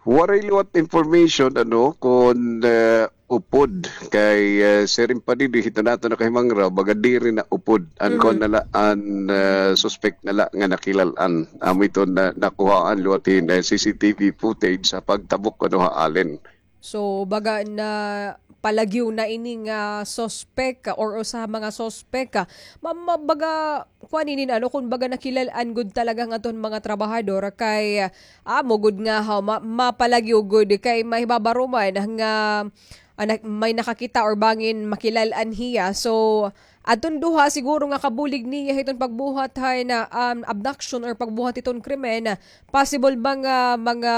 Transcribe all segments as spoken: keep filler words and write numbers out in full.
Waray liwat information, ano, kon, eh, upod kay, eh, siring pa didi hiton aton nakahimangraw, baga diri na upod an Mhm. kuan na la, an, eh, suspect na la nga nakilal-an. Amo ito na nakuhaan liwat hin, eh, C C T V footage sa pagtabok, ano, ha Allen. So, baga na palagyo na ini nga suspect or usa ha mga suspect. Ma-, ma-, baga kuan inin, ano, kun baga nakilal-an gud talaga nga aton mga trabahador kay, ah, amo gud nga, ha, ma-, mapalagyo gud kay mahibabaro man nga, ah, na-, may nakakita or bangin makilal-an hiya. So, adton duha siguro nga kabulig niya hiton pagbuhat hay na, um, abduction or pagbuhat hiton krimen, possible ba nga mga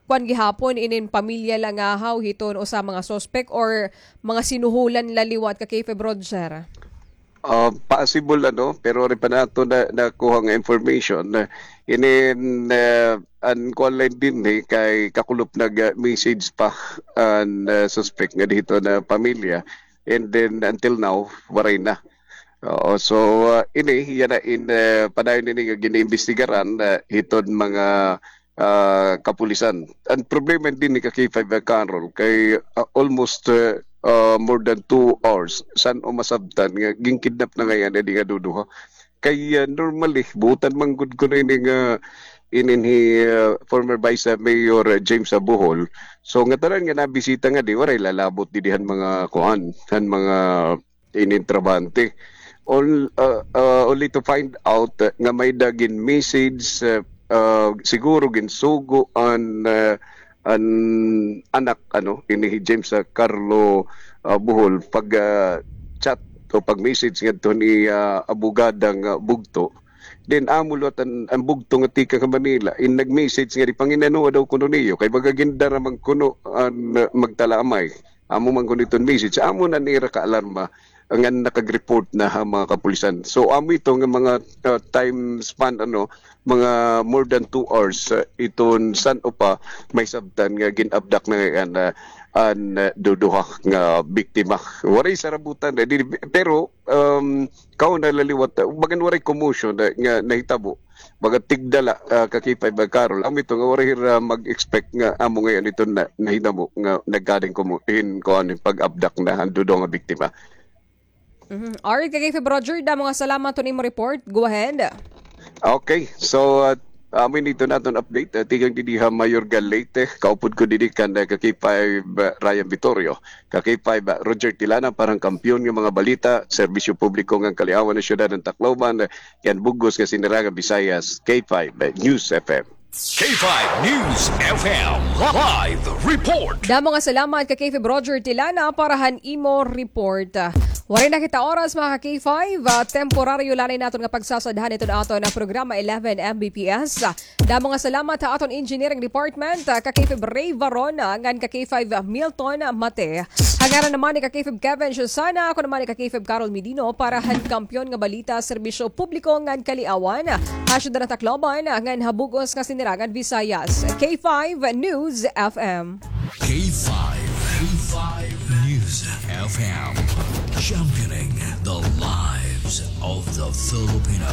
kuan gihapon inin pamilya la ngahaw hiton usa mga suspect or mga sinuhulan la liwat ka K five Roger? Ah, possible, ano, pero waray pa naton na, nakuha nga information. Ah, inin, ah, an kuan la dinhi kay kakulop nag, ah, message pa an, ah, suspect nga didto na pamilya. And then until now, waray na. Oo, so, ah, ini, yana in, ah, padayon ini nga giniimbestigaran, ah, hiton mga ah, kapulisan. An problema dinhi ka K five, ah, Carol, kay, ah, almost, ah, ah, more than two hours san-o masabtan nga ginkidnap na ngay-an ini nga duduha. Kay, ah, normally, buotan man gud kuno ini nga inin hi, ah, former Vice, ah, Mayor, ah, James, ah, Bohol. So, ngatanan nga nabisita ngadi, waray lalabot didi han mga kuan, han mga inin trabahante. Ol-, ah, ah, only to find out, ah, nga may-ada gin-message, ah, ah, siguro ginsugo an, ah, an anak, ano, ini hi James, ah, Carlo, ah, Bohol, pag, ah, chat o pag-message ngadto ni, ah, abogadang, ah, bugto. Then, amo liwat an, an bugto nga tikang ha Manila, in nag-message ngadi, pangin-anoa daw kuno niyo, kay baga gindara man kuno an, ah, magtalamay. Amo man kuno iton message. Amo na an ira kaalarma ngan nakag-report na ha mga kapulisan. So, amo ito nga mga, ah, time span, ano, mga more than two hours, ah, iton san-o pa may sabtan nga gin-abduct na ngay-an, ah, an, ah, duduha nga biktima. Waray sarabutan, eh, di, pero, um, kauna la liwat, ah, bagan waray commotion, ah, nga nahitabo. Baga tigda la, ah, ka K five, ah, Carol. Amo ito nga waray hira mag-expect nga amo ngay-an ito na, nahitabo nga nagkading kumo-, hin, kuan, hin pag-abduct na han duduha nga biktima. Mhm. Alright, ka K five Roger, damo nga salamat hit imo report. Go ahead. Okay, so, ah, amo ini iton aton update. Ah, tikang didi ha Mayorga, Leyte, kaupod ko didi kan, ah, ka K five, ah, Ryan Vittorio. Ka K five, ah, Roger Tilana para han kampiyon nga mga balita, serbisyo publiko ngan kaliawan han syudad han Tacloban, ah, ngan bug-os nga Sinirangan Visayas, K five, ah, News F M. K five News F M live report. Damo nga salamat ka K five Roger Tilana para han imo report. Waray na kita oras, mga ka K five. Ah, temporaryo la ini naton nga pagsasadhan iton aton nga programa eleven M B P S. Damo nga salamat ha aton engineering department, ah, ka K five Ray Varona, ngan ka K five Milton Mate. Ha ngaran naman ni ka K five Kevin Susana, ako naman ni ka K five Carol Medino para han kampiyon nga balita, serbisyo publiko ngan kaliawan ha syudad han Tacloban, ngan ha bug-os nga Sinirangan Visayas. K five News F M. K five, K five News F M, championing the lives of the Filipino.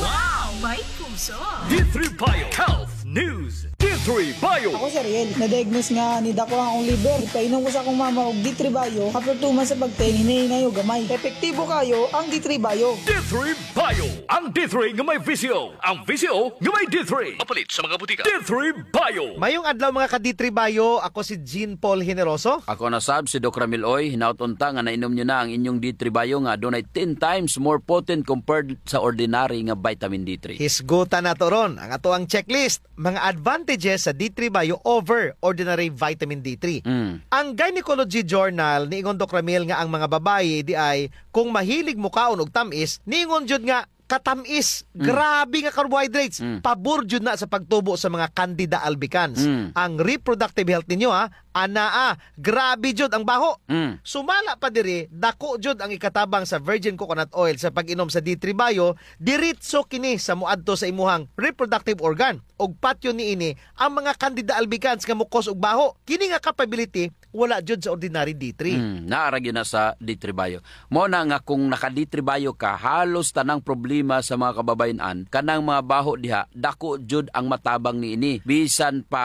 Wow! May puso! D three Bio Health News. D three Bio. Ako si Ariel. Na-diagnose nga nidako an akon liver. Ipainom ko sa akon mama og D three Bio. After two months sa pagtayin, hinay-hinay og gamay. Epektibo kaayo ang D three Bio. D three Bio. Ang D three nga may V C O. Ang V C O nga may D three. Mapalit sa mga butika. D three Bio. Mayong adlaw, mga ka-D three Bio. Ako si Jean Paul Generoso. Ako na sab si Doc Ramil Oy. Hinaot unta nga nainom niyo na ang inyong D three Bio nga adunay ten times more potent compared sa ordinary nga vitamin D three. Hisgutan nato ron ang atoang checklist, mga advantages sa D three Bio over ordinary vitamin D three. Mm. Ang Gynecology Journal, niingon, Doc Ramil, nga ang mga babayi diay kung mahilig mokaon og tam-is, niingon jud nga katam-is, Mm. grabe nga carbohydrates, Mm. pabor jud na sa pagtubo sa mga Candida albicans. Mm. Ang reproductive health ninyo, ha, anaa, grabe jud ang baho. Mm. Sumala pa diri, dako jud ang ikatabang sa virgin coconut oil sa pag-inom sa D three Bio, diretso kini sa moadto sa imuhang reproductive organ. Ug patyon niini ang mga Candida albicans nga mo-cause og baho. Kini nga capability wala jud sa ordinary D three. Mm, naa ra gyud na sa D three Bio. Mao na nga kung naka-D three Bio ka, halos tanang problema sa mga kababayen-an, kanang mga baho diha, dako jud ang matabang niini. Bisan pa